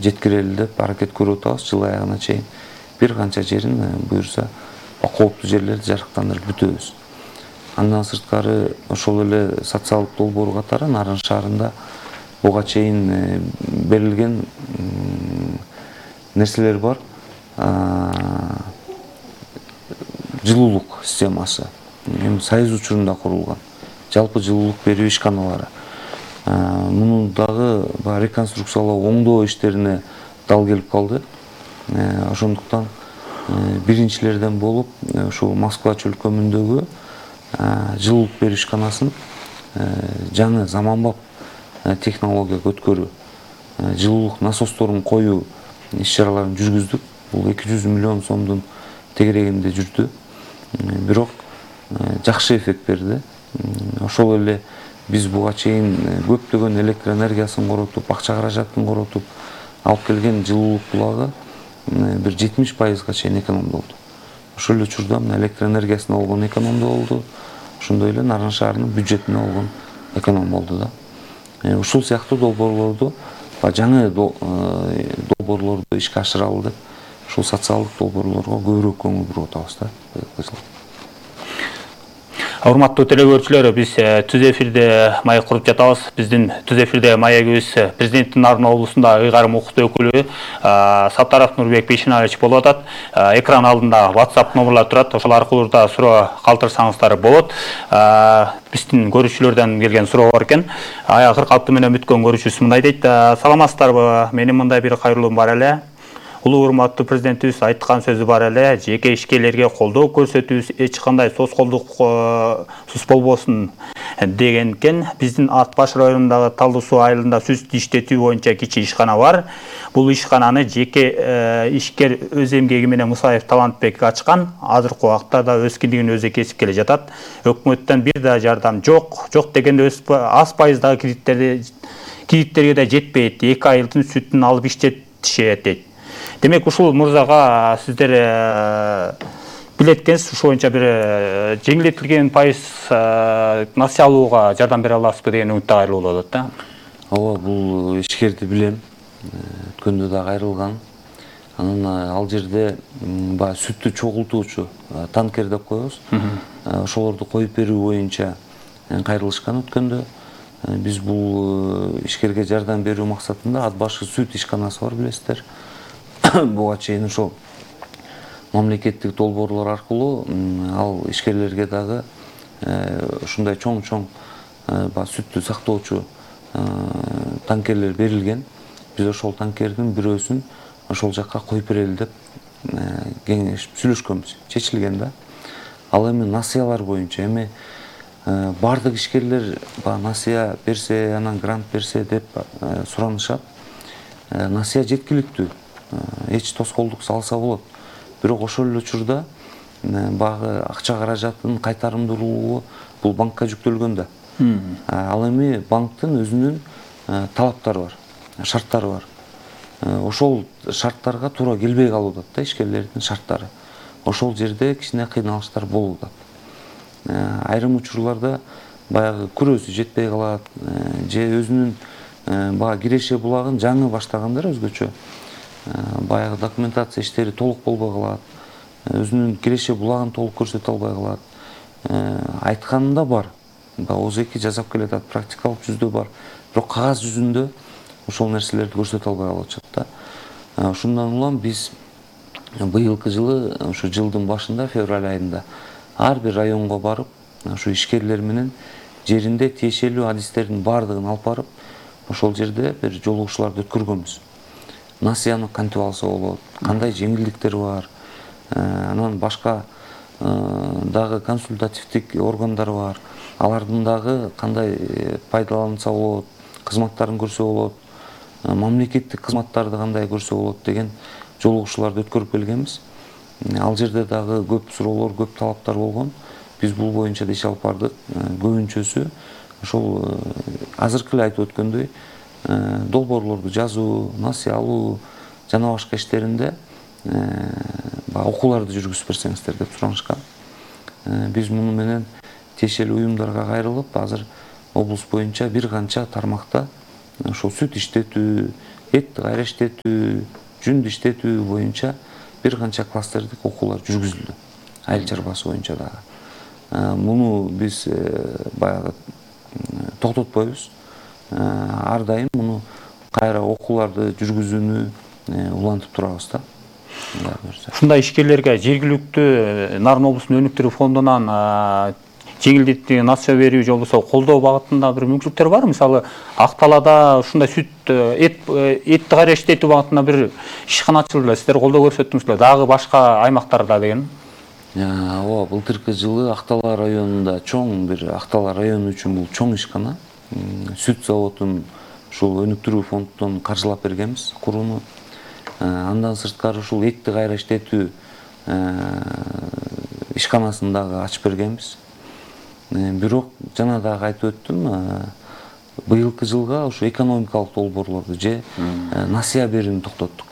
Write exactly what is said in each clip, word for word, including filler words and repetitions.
жеткирели деп аракет көрүп атабыз. Жыл аягына чейин бир канча жерин буюрса кооптуу жерлерди жарыктандырып бүтөбүз. Андан сырткары ошол эле социалдык долбоор катары Нарын шаарында буга чейин берилген нерселер бар. Жылуулук системасы эми Союз учурунда курулган жалпы жылуулук берүү ишканалары. Муну дагы реконструкциялоо, оңдоо иштерине дал келип калды. Ошондуктан биринчилерден болуп ушул Москва чөлкөмүндөгү жылуулук берүү ишканасын жаңы заманбап технологияга өткөрүү, жылуулук насосторун коюу иш-чараларын жүргүздүк. Бул эки жүз миллион сомдун тегерегинде жүрдү. Бирок жакшы эффект берди. Ошол эле биз буга чейин көптөгөн электр энергиясын коротуп, акча каражатын коротуп алып келген жылуулук булагы бир жетимиш пайызга чейин экономдолду. Ошол эле учурда электр энергиясына болгон эконом да болду. Ошондой эле Нарын шаарынын бюджетине болгон эконом болду да. Ушул сыяктуу долбоорлорду, жаңы долбоорлорду ишке ашыралы деп, ушул социалдык долбоорлорго көбүрөөк көңүл буруп атабыз да. Урматтуу телекөрүүчүлөр, биз түз эфирде маек куруп жатабыз. Биздин түз эфирде маегибиз президенттин Нарын облусунда ыйгарым укуктуу өкүлү Саттаров Нурбек Бейшенаевич болуп атат. Экран алдында WhatsApp номерлар турат. Ошол аркылуу да суроо калтырсаңыздар болот. Биздин көрүүчүлөрдөн келген суроо бар экен. Кырк алты менен бүткөн көрүүчүбүз мындай дейт: саламатсыздарбы? Менин мындай бир кайрылуум бар эле. Улуу урматтуу президентибиз айткан сөзү бар эле, жеке ишкерлерге колдоо көрсөтүүбүз эч кандай соскоолдук сус болбосун деген экен. Биздин Ат баш районундагы Талдуу суу айылында сүт иштетүү боюнча кичи ишкана бар. Бул ишкананы жеке ишкер өз эмгеги менен Мусаев Талантбек ачкан. Азыркы убакта да өз киндигин өзү кесип келе жатат. Өкмөттөн бир да жардам жок. Жок дегенде аз пайыздагы кредиттерди кредиттерге да жетпейт. эки айылдын сүтүн алып иштетишет дейт. Демек, ушул мырзага сиздер билет экенсиз, ушул боюнча бир жеңилдетилген пайыз насыя алууга жардам бере аласызбы деген үмүттө кайрылуу болот да. Ооба, бул ишкерди билем. Өткөндө да кайрылган. Анан ал жерде баягы сүттү чогултуучу танкер деп коебуз. Ошолорду коюп берүү боюнча кайрылышкан өткөндө. Биз бул ишкерге жардам берүү максатында Ат башы сүт ишканасы бар, билесиздер. Буга чейин ошол мамлекеттик долбоорлор аркылуу ал ишкерлерге дагы ушундай чоң-чоң сүттү сактоочу танкерлер берилген. Биз ошол танкердин бирөөсүн ошол жакка коюп берели деп кеңешип сүйлөшкөнбүз. Чечилген да. Ал эми насыялар боюнча эми бардык ишкерлер насыя берсе, анан грант берсе деп суранышат. Насыя жеткиликтүү. Эч тоскоолдук салса болот. Бирок ошол эле учурда багы акча каражатын кайтарымдуулугу бул банкка жүктөлгөн да. Ал эми банктын өзүнүн талаптары бар, шарттары бар. Ошол шарттарга туура келбей калууда да ишкерлердин шарттары. Ошол жерде кичине кыйналыштар болууда. Айрым учурларда баягы күрөөсү жетпей калат, же өзүнүн баягы киреше булагын жаңы баштагандар өзгөчө. Баягы документация иштери толук болбой калат. Өзүнүн киреше булагын толук көрсөтө албай калат. Айтканында бар. Оз эки жасап келатат, практикалык жүздө бар. Бирок кагаз жүзүндө ошол нерселерди көрсөтө албай калышат да. Ошондон улам биз быйылкы жылы, ошо жылдын башында, февраль айында ар бир районго барып, ошо ишкерлер менен жеринде тиешелүү адистердин баардыгын алып барып, ошол жерде бир жолугушууларды өткөргөнбүз. Насыяны кантип алса болот, кандай жеңилдиктер бар, анан башка дагы консультативдик органдар бар, алардын дагы кандай пайдаланса болот, кызматтарын көрсө болот, мамлекеттик кызматтарды кандай көрсө болот деген жолугушууларды өткөрүп келгенбиз. Ал жерде дагы көп суроолор, көп талаптар болгон. Биз бул боюнча да иш алып бардык. Көбүнчөсү ошол азыркы эле айтып өткөндөй долбоорлорду жазуу, насыя алуу жана башка иштеринде окууларды жүргүзүп берсеңиздер деп суранышкан. Биз муну менен тиешелүү уюмдарга кайрылып, азыр облус боюнча бир канча тармакта ошол сүт иштетүү, этти кайра иштетүү, жүндү иштетүү боюнча бир канча кластердик окуулар жүргүзүлдү. Айыл чарбасы боюнча дагы. Муну биз баягы токтотпойбуз. Ар дайым муну кайра окууларды жүргүзүүнү улантып турабыз да. Ушундай ишкерлерге жергиликтүү Нарын облусунун өнүктүрүү фондунан жеңилдетүү, насыя берүү же болбосо колдоо багытында бир мүмкүнчүлүктөр барбы? Мисалы, Акталада ушундай сүт, эт, этти кайра иштетүү багытында бир ишкана ачылды, сиздер колдоо көрсөттүңүздөр, дагы башка аймактарда деген. Ооба, былтыркы жылы Актала районунда чоң бир Актала району үчүн бул чоң ишкана. Сүт заводун ушул өнүктүрүү фондунан каржылап бергенбиз курууну. Андан сырткары ушул этти кайра иштетүү ишканасын дагы ачып бергенбиз. Бирок жана дагы айтып өттүм, быйылкы жылга ушу экономикалык долбоорлорду же насыя берүүнү токтоттук.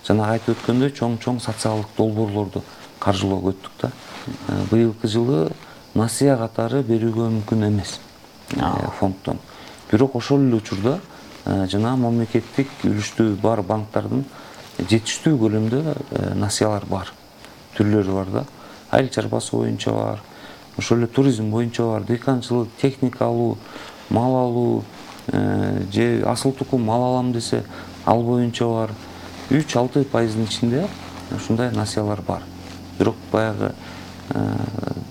Жана айтып өткөндөй чоң-чоң социалдык долбоорлорду каржылоого өттүк да. Быйылкы жылы насыя катары берүүгө мүмкүн эмес фонддон. Бирок ошол эле учурда жана мамлекеттик үлүштүү бар банктардын жетиштүү көлөмдө насыялар бар. Түрлөрү бар да. Айыл чарбасы боюнча бар, ошол эле туризм боюнча бар, дыйканчылык, техника алуу, мал алуу, же асыл тукум мал алам десе, ал боюнча бар. үч алты пайыздын ичинде ушундай насыялар бар. Бирок баягы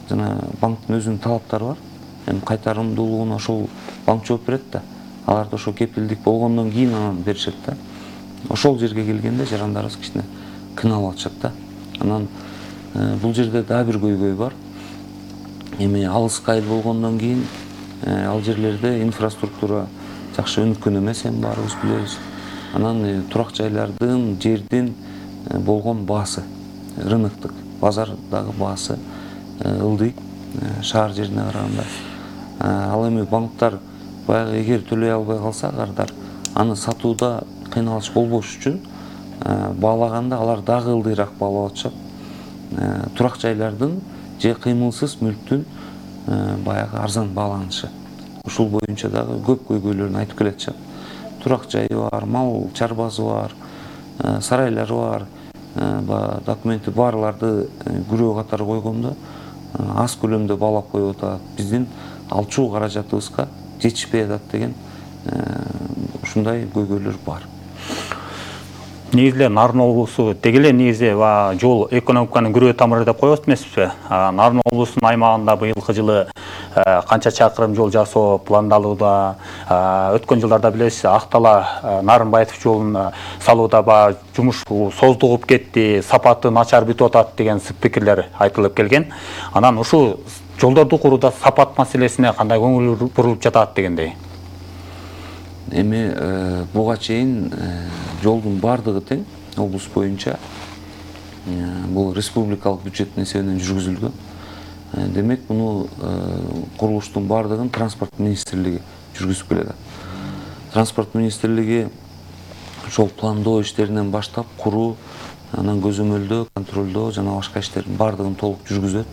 жана банктын өзүнүн талаптары бар. Эми кайтарымдуулугуна ошол банк жооп берет да. Аларда ошо кепилдик болгондон кийин анан беришет да. Ошол жерге келгенде жарандарыбыз кичине кыйналып атышат да. Анан бул жерде дагы бир көйгөй бар. Эми алыска айыл болгондон кийин ал жерлерде инфраструктура жакшы өнүккөн эмес, эми баарыбыз билебиз. Анан турак жайлардын, жердин болгон баасы, рыноктук, базардагы баасы ылдый шаар жерине караганда. Ал эми банктар баягы эгер төлөй албай калса кардар, аны сатууда кыйналыш болбош үчүн баалаганда алар дагы ылдыйраак баалап атышат. Турак жайлардын же кыймылсыз мүлктүн баягы арзан бааланышы. Ушул боюнча дагы көп көйгөйлөрүн айтып келатышат. Турак жайы бар, мал чарбасы бар, сарайлары бар, документи барларды күрөө катары койгондо аз көлөмдө баалап коюп атат. Биздин алчуу каражатыбызга жетишпей атат деген ушундай көйгөйлөр бар. Негизи Нарын облусу деги эле негизи жол экономиканын күрөө тамыры деп коебуз эмеспи? Нарын облусунун аймагында быйылкы жылы канча чакырым жол жасоо пландалууда. Өткөн жылдарда билесиз, Актала Нарынбаев жолун салууда ба жумуш создугуп кетти, сапаты начар бүтүп атат деген пикирлер айтылып келген. Анан ушу жолдорду курууда сапат маселесине кандай көңүл бурулуп жатат дегендей. Эми буга чейин жолдун бардыгы тең облус боюнча бул республикалык бюджеттин эсебинен жүргүзүлгөн. Демек, муну курулуштун бардыгын транспорт министрлиги жүргүзүп келет. Транспорт министрлиги ошол пландоо иштеринен баштап куруу, анан көзөмөлдөө, контролдоо жана башка иштердин бардыгын толук жүргүзөт.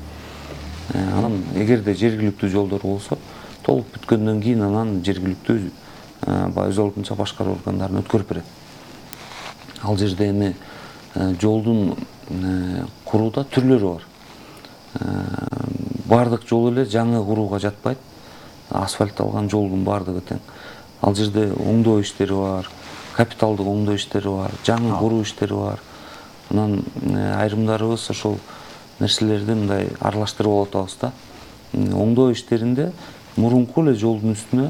Анан эгерде жергиликтүү жолдор болсо, толук бүткөндөн кийин анан жергиликтүү өз алдынча башкаруу органдарын өткөрүп берет. Ал жерде эми жолдун курууда түрлөрү бар. Бардык жол эле жаңы курууга жатпайт. Асфальтталган жолдун бардыгы тең. Ал жерде оңдоо иштери бар, капиталдык оңдоо иштери бар, жаңы куруу иштери бар. Анан айрымдарыбыз ошол нерселерди мындай аралаштырып алып атабыз да. Оңдоо иштеринде мурунку эле жолдун үстүнө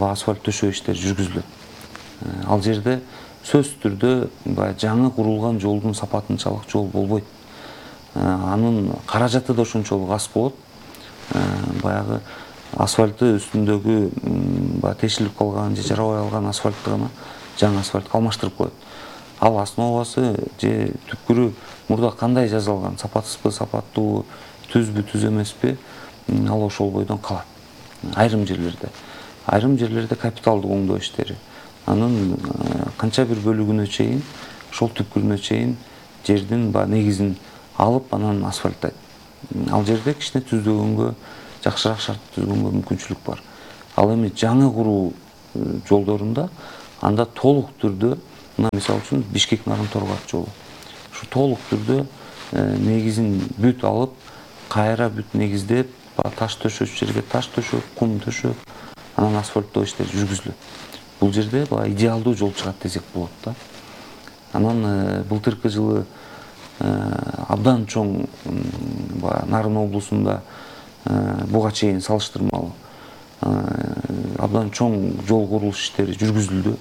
асфальт төшөө иштери жүргүзүлөт. Ал жерде сөзсүз түрдө жаңы курулган жолдун сапатынчалык жол болбойт. Анын каражаты да ошончолук аз болот. Баягы асфальты үстүндөгү тешилип калган же жарабай калган асфальтты гана жаңы асфальтка алмаштырып коет. Ал основасы же түпкүрү мурда кандай жасалган, сапатсызбы, сапаттуубу, түзбү, түз эмеспи, ал ошол бойдон калат. Айрым жерлерде. Айрым жерлерде капиталдык оңдоо иштери. Анын канча бир бөлүгүнө чейин, ошол түпкүрүнө чейин жердин негизин алып, анан асфальттайт. Ал жерде кичине түздөгөнгө, жакшыраак шарт түзгөнгө мүмкүнчүлүк бар. Ал эми жаңы куруу жолдорунда анда толук түрдө мына мисалы үчүн Бишкек Нарын Торгат жолу ушу толук түрдө негизин бүт алып, кайра бүт негиздеп, таш төшөчү жерге таш төшөп, кум төшөп, анан асфальттоо иштери жүргүзүлөт. Бул жерде баягы идеалдуу жол чыгат десек болот да. Анан былтыркы жылы абдан чоң баягы Нарын облусунда буга чейин салыштырмалуу абдан чоң жол курулуш иштери жүргүзүлдү.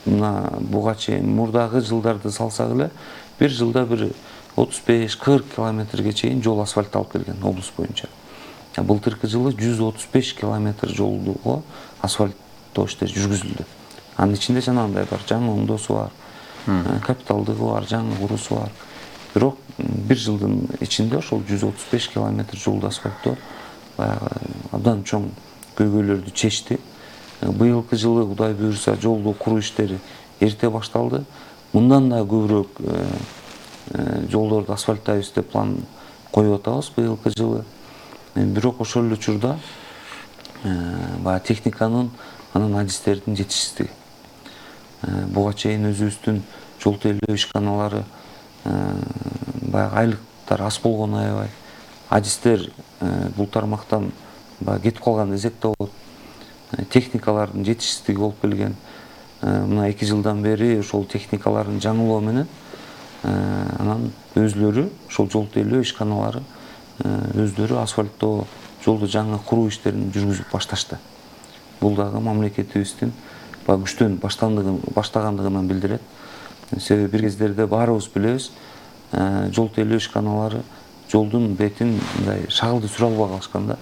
Мына буга чейин мурдагы жылдарды салсак эле бир жылда бир отуз беш кырк километрге чейин жол асфальтталып келген облус боюнча. Былтыркы жылы жүз отуз беш километр жолго асфальттоо иштери жүргүзүлдү. Анын ичинде жанагындай бар, жаңы оңдоосу бар, капиталдыгы бар, жаңы куруусу бар. Бирок бир жылдын ичинде ошол жүз отуз беш километр жолду асфальттоо баягы абдан чоң көйгөйлөрдү чечти. Быйылкы жылы Кудай буйруса жолду куруу иштери эрте башталды. Мындан да көбүрөөк жолдорду асфальттайбыз деп план коюп атабыз быйылкы жылы. Бирок ошол эле учурда баягы техниканын анан адистердин жетишсиздиги. Буга чейин өзүбүздүн жол тейлөө ишканалары баягы айлыктар аз болгону аябай. Адистер бул тармактан баягы кетип калган десек да болот. Техникалардын жетишсиздиги болуп келген. Мына эки жылдан бери ошол техникаларын жаңылоо менен анан өзлөрү ошол жол тейлөө ишканалары өздөрү асфальттоо жолду жаңы куруу иштерин жүргүзүп башташты. Бул дагы мамлекетибиздин баягы күчтөн баштагандыгынан билдирет. Себеби бир кездерде баарыбыз билебиз, жол тейлөө ишканалары жолдун бетин мындай шагылды сүрө албай калышкан да.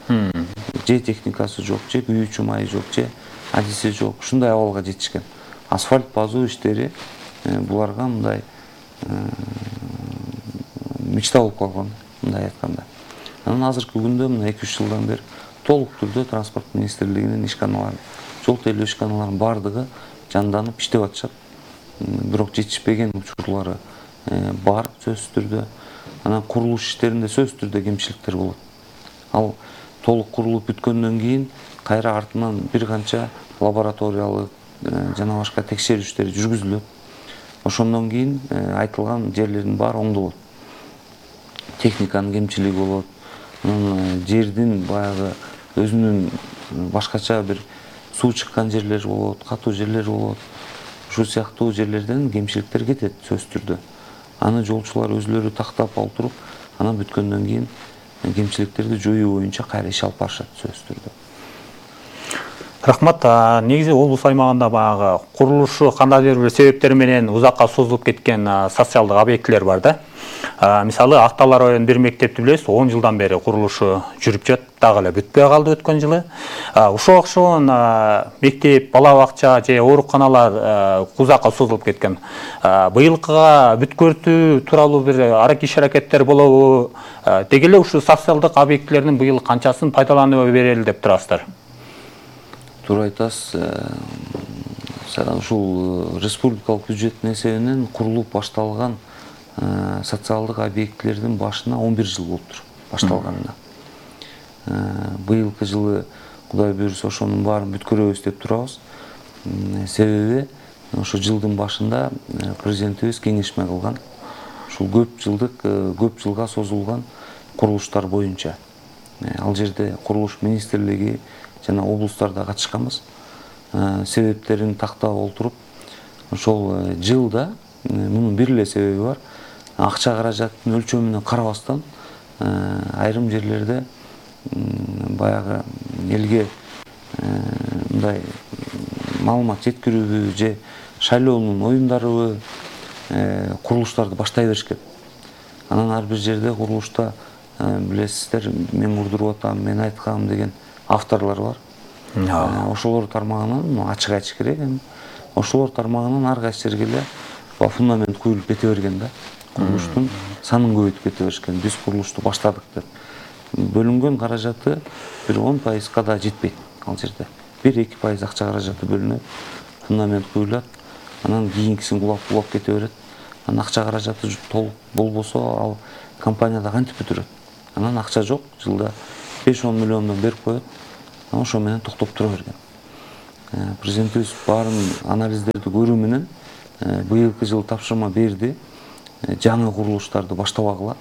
Же техникасы жок, же күйүүчү майы жок, же адиси жок. Ушундай абалга жетишкен. Асфальт базуу иштери буларга мындай мечта болуп калган, мындай айтканда. Анан азыркы күндө мына эки үч жылдан бери толук түрдө транспорт министрлигинин ишканалары, жол тейлөө ишканаларынын бардыгы жанданып иштеп атышат. Бирок жетишпеген учурлары бар сөзсүз түрдө. Анан курулуш иштеринде сөзсүз түрдө кемчиликтер болот. Ал толук курулуп бүткөндөн кийин кайра артынан бир канча лабораториялык жана башка текшерүүчтөр жүргүзүлөт. Ошондон кийин айтылган жерлердин баары оңдолот. Техниканын кемчилиги болот. Анан жердин баягы өзүнүн башкача бир суу чыккан жерлер болот, катуу жерлер болот. Ушул сыяктуу жерлерден кемчиликтер кетет сөзсүз түрдө. Аны жолчулар өзлөрү тактап олтуруп, анан бүткөндөн кийин кемчиликтерди жоюу боюнча кайра иш алып барышат сөзсүз түрдө. Рахмат. Негизи облус аймагында баягы курулушу кандайдыр бир себептер менен узакка созулуп кеткен социалдык объектилер бар да. Мисалы Актал районунун бир мектепти билебиз, он жылдан бери курулушу жүрүп жатат, дагы эле бүтпөй калды өткөн жылы. Ошого окшогон мектеп, бала бакча же ооруканалар узакка созулуп кеткен. Быйылкыга бүткөртүү тууралуу бир иш аракеттер болобу? Деги эле ушул социалдык объектилердин быйыл канчасын пайдаланууга берели деп турасыздар? Туура айтасыз. Ушул республикалык бюджеттин эсебинен курулуп башталган социалдык объектилердин башына он бир жыл болуптур башталганына. Быйылкы жылы Кудай буйруса ошонун баарын бүткөрөбүз деп турабыз. Себеби ошо жылдын башында президентибиз кеңешме кылган. Ушул көп жылдык, көп жылга созулган курулуштар боюнча. Ал жерде курулуш министрлиги жана облустарда катышканбыз. Себептерин тактап олтуруп, ошол жылда мунун бир эле себеби бар. Акча каражаттын өлчөмүнө карабастан айрым жерлерде баягы элге мындай маалымат жеткирүүбү же шайлоонун оюндарыбы курулуштарды баштай беришкен. Анан ар бир жерде курулушта билесиздер, мен курдуруп атам, мен айткам деген авторлор бар. Ошолор тармагынан ачык айтыш керек. Ошолор тармагынан ар кайсы жерге эле фундамент куюлуп кете берген да. Курулуштун санын көбөйтүп кете беришкен. Биз курулушту баштадык деп. Бөлүнгөн каражаты бир он пайызга да жетпейт ал жерде. бир эки пайыз акча каражаты бөлүнөт, фундамент куюлат, анан кийинкисин кулап кулап кете берет. Анан акча каражаты толук болбосо ал компанияда кантип бүтүрөт? Анан акча жок, жылда беш он миллиондон берип коет. Анан ошо менен токтоп тура берген. Президентибиз баарын анализдерди көрүү менен быйылкы жылы тапшырма берди. Жаңы курулуштарды баштабагыла.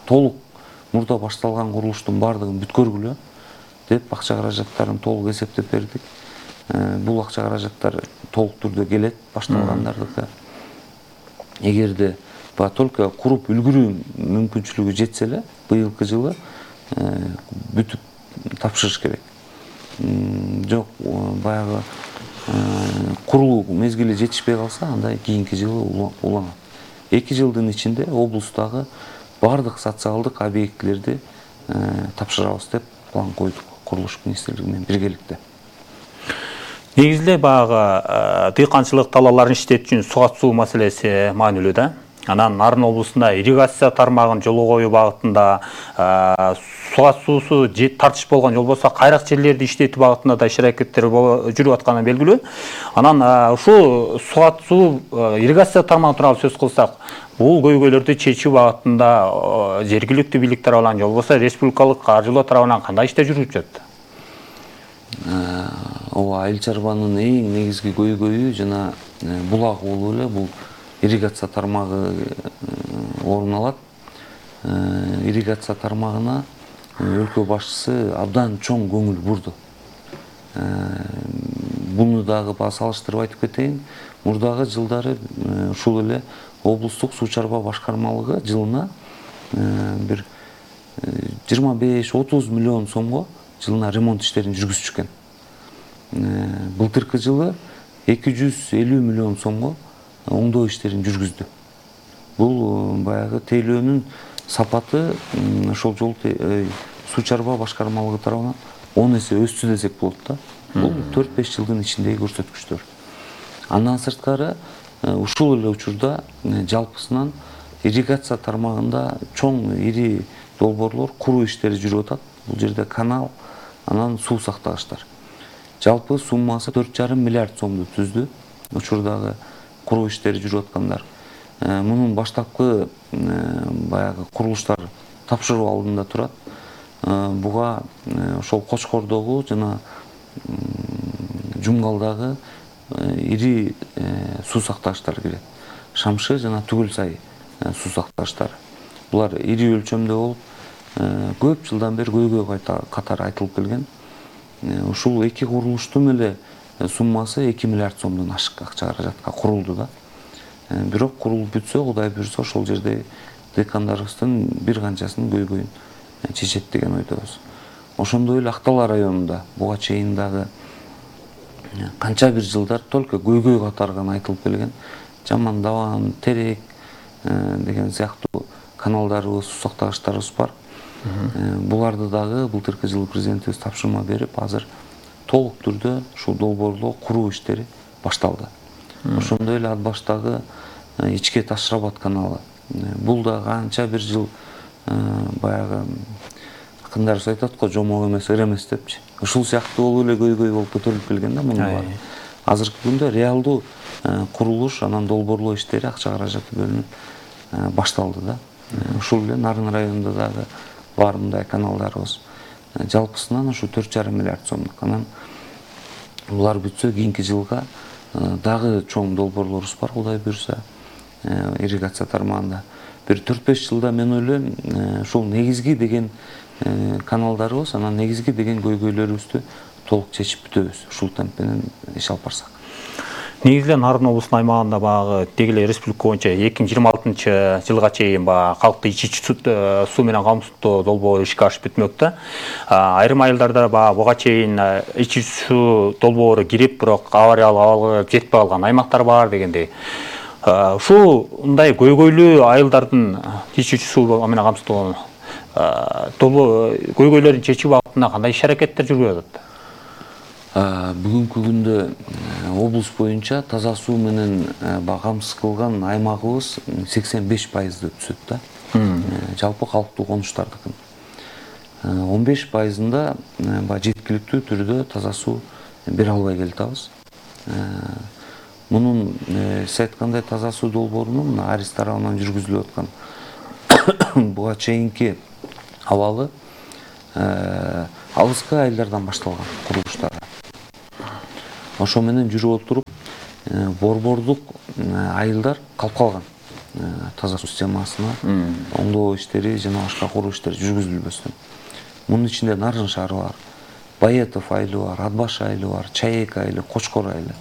Толук мурда башталган курулуштун баардыгын бүткөргүлө деп акча каражаттарын толук эсептеп бердик. Бул акча каражаттар толук түрдө келет башталгандардыкы. Эгерде ба только куруп үлгүрүү мүмкүнчүлүгү жетсе эле быйылкы жылы бүтүп тапшырыш керек. Жок, баягы курулуу мезгили жетишпей калса, анда кийинки жылы уланат. эки жылдын ичинде облустагы бардык социалдык объектилерди тапшырабыз деп план койдук курулуш министрлиги менен биргеликте. Негизде баягы дыйканчылык талааларын иштетүү үчүн суга суу маселеси маанилүү да. Анан Нарын облусунда ирригация тармагын жолго коюу багытында суга суусу тартыш болгон жол болсо, кайрак жерлерди иштетүү багытында да иш-аракеттер жүрүп атканы белгилүү. Анан ушул суга суу ирригация тармагы тууралуу сөз кылсак, бул көйгөйлөрдү чечүү багытында жергиликтүү бийлик тарабынан же болбосо республикалык каржылоо тарабынан кандай иштер жүрүп жатат? Ооба, айыл чарбанын эң негизги көйгөйү жана булак болуп эле бул ирригация тармагы орун алат. Ирригация тармагына өлкө башчысы абдан чоң көңүл бурду. Буну дагы салыштырып айтып кетейин. Мурдагы жылдары ушул эле облустук суу чарба башкармалыгы жылына бир жыйырма беш отуз миллион сомго жылына ремонт иштерин жүргүзүшкөн. Былтыркы жылы эки жүз элүү миллион сомго оңдоо иштерин жүргүздү. Бул баягы тейлөөнүн сапаты ошол жол суу чарба башкармалыгы тарабынан он эсе өстү десек болот да. Бул төрт беш жылдын ичиндеги көрсөткүчтөр. Андан сырткары ушул эле учурда жалпысынан ирригация тармагында чоң ири долбоорлор куруу иштери жүрүп атат. Бул жерде канал, анан суу сактагычтар. Жалпы суммасы төрт жарым миллиард сомду түздү. Учурдагы куруу иштери жүрүп аткандар. Мунун баштапкы баягы курулуштар тапшыруу алдында турат. Буга ошол Кочкордогу жана Жумгалдагы ири суу сактагычтар кирет. Шамшы жана Түгүл сай суу сактагычтары. Булар ири өлчөмдө болуп, көп жылдан бери көйгөй катары айтылып келген. Ушул эки курулуштун эле суммасы эки миллиард сомдон ашык акча каражатка курулду да. Бирок курулуп бүтсө, Кудай буйрса, ошол жерде дыйкандарыбыздын бир канчасынын көйгөйүн чечет деген ойдобуз. Ошондой эле Актала районунда буга чейин дагы канча бир жылдар только көйгөй катары гана айтылып келген. Жаман Даван, Терек деген сыяктуу каналдарыбыз, суу сактагычтарыбыз бар. Буларды дагы былтыркы жылы президентибиз тапшырма берип, азыр толук түрдө ушул долбоорлоо куруу иштери башталды. Ошондой эле ат баштагы Ичке Таш-Рабат каналы. Бул да канча бир жыл баягы акындарыбыз айтат го, жомок эмес, ыр эмес депчи. Ушул сыяктуу болуп эле көйгөй болуп көтөрүлүп келген да мунун баары. Азыркы күндө реалдуу курулуш, анан долбоорлоо иштери, акча каражаты бөлүнүп башталды да. Ушул эле Нарын районунда дагы бар мындай каналдарыбыз. Жалпысынан ушу төрт жарым миллиард сомдук. Анан булар бүтсө, кийинки жылга дагы чоң долбоорлорубуз бар, Кудай буйрса, ирригация тармагында. Бир төрт беш жылда мен ойлойм, ушул негизги деген каналдарыбыз, анан негизги деген көйгөйлөрүбүздү толук чечип бүтөбүз. Ушул темп менен иш алып барсак. Негизде Нарын облусунун аймагында багы дегеле республика боюнча эки миң жыйырма алтынчы жылга чейин ба калкты ичүүчү суу менен камсыздоо долбоору ишке ашып бүтмөк да. Айрым айылдарда ба буга чейин ичүүчү суу долбоору кирип, бирок авариялык абалга жетпей калган аймактар бар дегендей. Ушундай көйгөйлүү айылдардын ичүүчү суу менен камсыздоо көйгөйлөрүн чечүү багытында кандай иш-аракеттер жүрүп атат? Бүгүнкү күндө облус боюнча таза суу менен камсыз кылган аймагыбыз сексен беш пайызды түзөт да. Жалпы калктуу конуштардыкын. он беш пайызында жеткиликтүү түрдө таза суу бере албай келатабыз. Мунун сиз айткандай таза суу долбоорунун Арис тарабынан жүргүзүлүп аткан буга чейинки абалы алыскы айылдардан башталган курулуштары. ошо менен жүрүп отуруп борбордук айылдар калып калган. Таза суу системасына оңдоо иштери жана башка куруу иштери жүргүзүлбөстөн. Мунун ичинде Нарын шаары бар, Баетов айылы бар, Атбаш айылы бар, Чаек айылы, Кочкор айылы.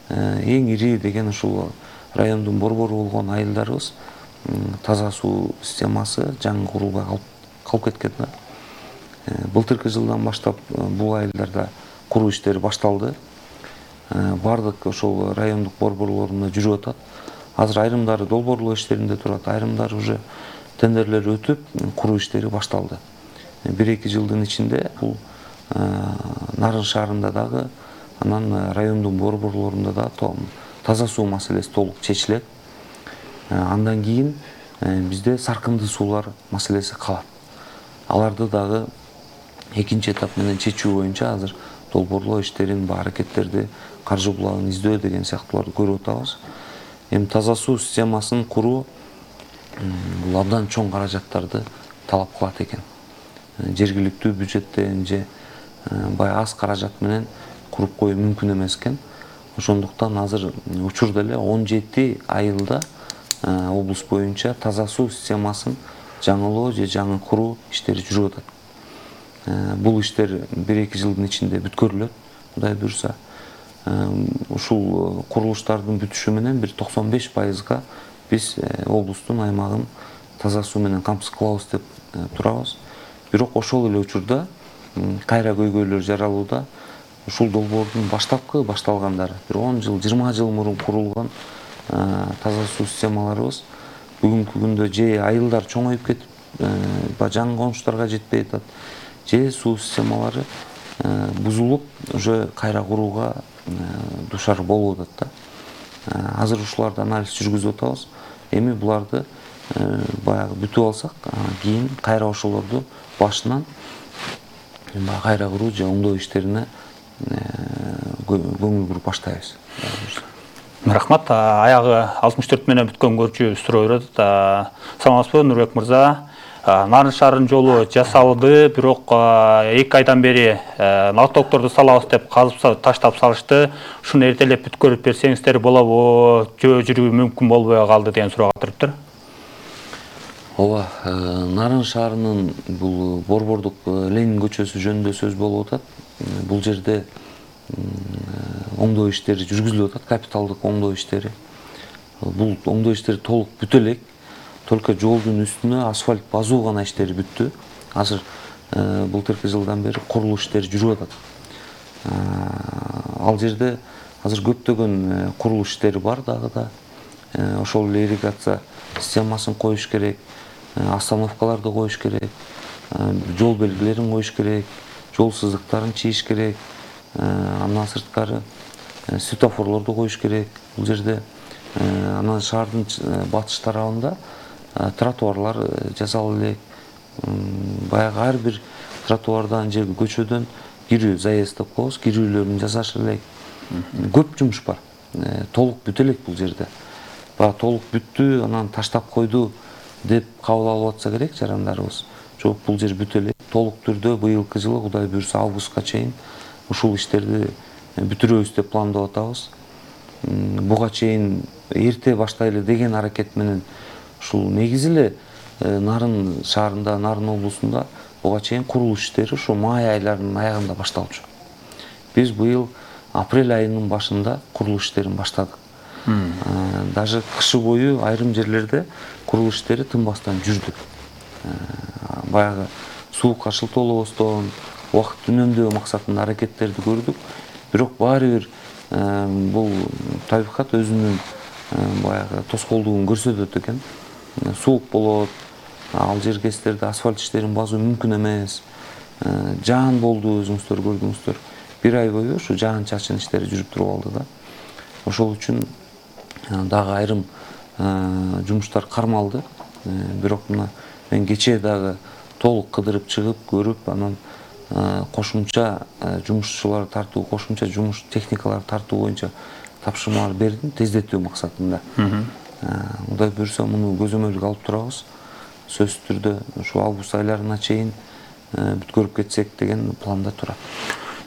Эң ири деген ушул райондун борбору болгон айылдарыбыз таза суу системасы жаңы курулбай калып кеткен да. Былтыркы жылдан баштап бул айылдарда куруу иштери башталды. Бардык ошол райондук борборлорунда жүрүп атат. Азыр айрымдары долбоорлоо иштеринде турат, айрымдары уже тендерлер өтүп, куруу иштери башталды. бир-эки жылдын ичинде бул Нарын шаарында дагы, анан райондун борборлорунда да таза суу маселеси толук чечилет. Андан кийин бизде саркынды суулар маселеси калат. Аларды дагы экинчи этап менен чечүү боюнча азыр долбоорлоо иштерин, аракеттерди, каржы булагын издөө деген сыяктууларды көрүп атабыз. Эми таза суу системасын куруу бул абдан чоң каражаттарды талап кылат экен. Жергиликтүү бюджеттен же бай аз каражат менен куруп коюу мүмкүн эмес экен. Ошондуктан азыр учурда эле он жети айылда облус боюнча таза суу системасын жаңылоо же жаңы куруу иштери жүрүп атат. Бул иштер бир-эки жылдын ичинде бүткөрүлөт, Кудай буйрса. Ушул курулуштардын бүтүшү менен бир токсон беш пайызга биз облустун аймагын таза суу менен камсыз кылабыз деп турабыз. Бирок ошол эле учурда кайра көйгөйлөр жаралууда. Ушул долбоордун баштапкы башталгандары, бир он жыл, жыйырма жыл мурун курулган таза суу системаларыбыз бүгүнкү күндө же айылдар чоңоюп кетип, жаңы конуштарга жетпей атат, же суу системалары бузулуп, уже кайра курууга душар болуп атат да. Азыр ушуларды анализ жүргүзүп атабыз. Эми буларды баягы бүтүп алсак, кийин кайра ошолорду башынан кайра куруу же оңдоо иштерине көңүл буруп баштайбыз. Рахмат. Аягы алтымыш төрт менен бүткөн көрчү суроо берет. Саламатсызбы, Нурбек мырза? Нарын шаарынын жолу жасалды, бирок эки айдан бери налогторду салабыз деп казып таштап салышты. Ушуну эртелеп бүткөрүп берсеңиздер болобу, жөө жүрүү мүмкүн болбой калды деген суроого туруптур. Ооба, Нарын шаарынын бул борбордук Ленин көчөсү жөнүндө сөз болуп атат. Бул жерде оңдоо иштери жүргүзүлүп атат, капиталдык оңдоо иштери. Бул оңдоо иштери толук бүтө элек. Только жолдун үстүнө асфальт базуу гана иштери бүттү. Азыр былтыркы жылдан бери курулуш иштери жүрүп атат. Ал жерде азыр көптөгөн курулуш иштери бар дагы да. Ошол эле ирригация системасын коюш керек, остановкаларды коюш керек, жол белгилерин коюш керек, жол сызыктарын чийиш керек, андан сырткары светофорлорду коюш керек. Бул жерде анан шаардын батыш тарабында тротуарлар жасалып элек. Баягы ар бир тротуардан же көчөдөн кирүү, заезд деп коебуз, кирүүлөрүн жасаш элек. Көп жумуш бар. Толук бүтө элек бул жерде. Баягы толук бүттү, анан таштап койду деп кабыл алып атса керек жарандарыбыз. Жок, бул жер бүтө элек. Толук түрдө быйылкы жылы Кудай буйрса августка чейин ушул иштерди бүтүрөбүз деп пландап атабыз. Буга чейин эрте баштайлы деген аракет менен ушул негизи эле Нарын шаарында, Нарын облусунда буга чейин курулуш иштери ушу май айларынын аягында башталчу. Биз быйыл апрель айынын башында курулуш иштерин баштадык. Даже кышы бою айрым жерлерде курулуш иштери тынбастан жүрдү. Баягы суу каршылтоолобостон, убакыт үнөмдөө максатында аракеттерди көрдүк. Бирок баары бир бул табигат өзүнүн баягы тоскоолдугун көрсөтөт экен. Суук болот, ал жергестерде асфальт иштерин базуу мүмкүн эмес. Жаан болду, өзүңүздөр көрдүңүздөр. Бир ай бою ушу жаан чачын иштери жүрүп туруп алды да. Ошол үчүн дагы айрым жумуштар кармалды. Бирок мына мен кечээ дагы толук кыдырып чыгып, көрүп, анан кошумча жумушчулар тартуу, кошумча жумуш техникалар тартуу боюнча тапшырмалар бердим, тездетүү максатында. Кудай буйрса муну көзөмөлгө алып турабыз. Сөзсүз түрдө ушу август айларына чейин бүткөрүп кетсек деген планда турат.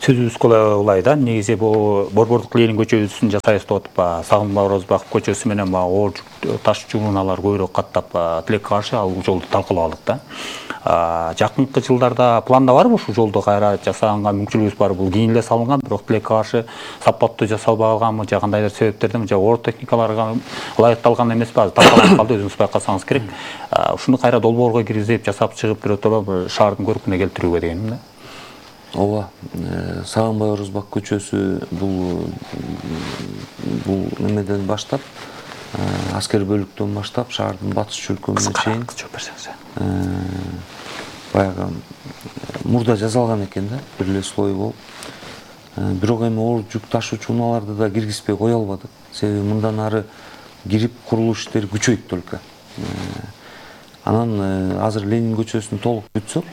сөзүбүз улай да, негизи бул Борбордук Ленин көчөсүн жасайбыз деп атып, Сагынбай Орозбаков көчөсү менен оор таш чугуналар көбүрөөк каттап тилекке каршы ал жолду талкууладык да. Жакынкы жылдарда планда барбы ушул жолду кайра жасаганга мүмкүнчүлүгүбүз бар? Бул кийин эле салынган, бирок тилекке каршы сапаттуу жасалбаганбы, же кандайдыр себептерден, же оор техникаларга ылайыкталган эмеспи? Азыр талкаланып калды, өзүңүз байкасаңыз керек. Ушуну кайра долбоорго киргизип, жасап чыгып биротоло шаардын көркүнө келтирүүгө дегеним да. Ооба, Сагынбай Орозбак көчөсү бул бул немеден баштап, аскер бөлүктөн баштап шаардын батыш чөлкөмүнө чейин баягы мурда жасалган экен да, бир эле слой болуп. Бирок эми оор жүк ташуучу унааларды да киргизбей кое албадык. Себеби мындан ары кирип курулуш иштери күчөйт только. Анан азыр Ленин көчөсүн толук бүтсөк,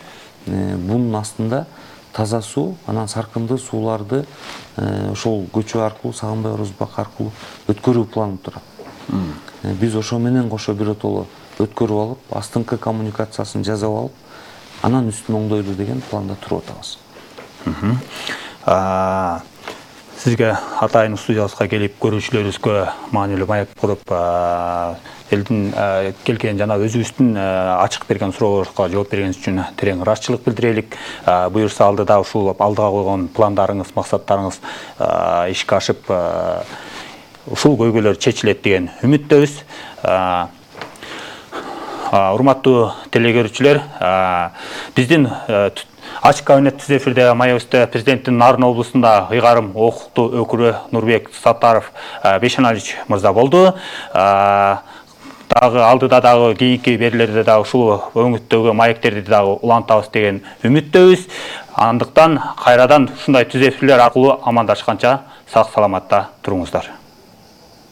бунун астында таза суу, анан саркындуу сууларды ошол көчө аркылуу, Сагынбай Орозбак аркылуу өткөрүү планып турат. Биз ошо менен кошо биротоло өткөрүп алып, астыңкы коммуникациясын жасап алып, анан үстүн оңдойлу деген планда туруп атабыз. Сизге атайын студиябызга келип көрүүчүлөрүбүзгө маанилүү маек куруп, элдин келген жана өзүбүздүн ачык берген суроолорубузга жооп бергениңиз үчүн терең ыраазычылык билдирелик. Буюрса алдыда ушул алдыга койгон пландарыңыз, максаттарыңыз ишке ашып, ушул көйгөйлөр чечилет деген үмүттөбүз. Урматтуу телекөрүүчүлөр, биздин Ачык кабинет түз эфирде маегибизде президенттин Нарын облусунда ыйгарым укуктуу өкүлү Нурбек Саттаров Бейшеналич мырза болду. Дагы алдыда дагы кийинки берилерде дагы ушул өңүттөгү маектерди дагы улантабыз деген үмүттөбүз. Андыктан кайрадан ушундай түз эфирлер аркылуу амандашканча сак саламатта туруңуздар.